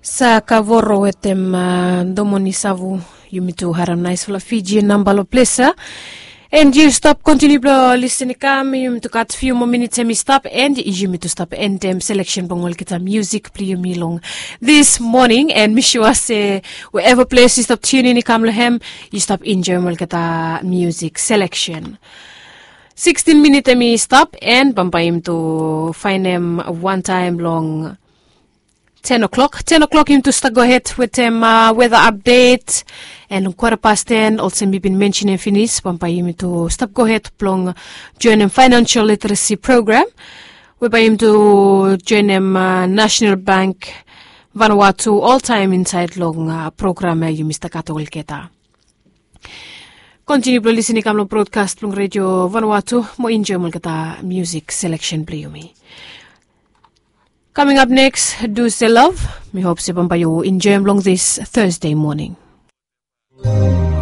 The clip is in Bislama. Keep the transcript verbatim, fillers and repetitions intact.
Sa kavoro wetem domoni savu. Yumi tu harim naisfala fiji namba long ples ya. And yu stap kontiniu blong lisin i kam, yumi tu gat fiu moa minit em i stap, and yumi tu stap endem seleksen blong olgeta musik blong yumi long this morning. And mi sua se wherever ples yu stap tunin i kam long hem, yu stap enjoim olgeta musik seleksen. Sikstin minit em i stap, and bambae yumi tu faenem wantaem long ten o'clock. Ten o'clock yumi tu stap gohed wetem weda apdet. And long kwara pas ten, olsem mi bin mensenem finis, bambae yumi tu stap gohed blong joenem financial literacy program, we bae yumi tu joenem national bank Vanuatu oltaem insaed long program ya yumi stap gat olgeta. Kontiniu blong lisin i kam long brodkas blong redio Vanuatu mo enjoim olgeta musik seleksen blong yumi. Kaming ap neks, Duse Love. Mi hop se bambae yu enjoim long this Thursday morning.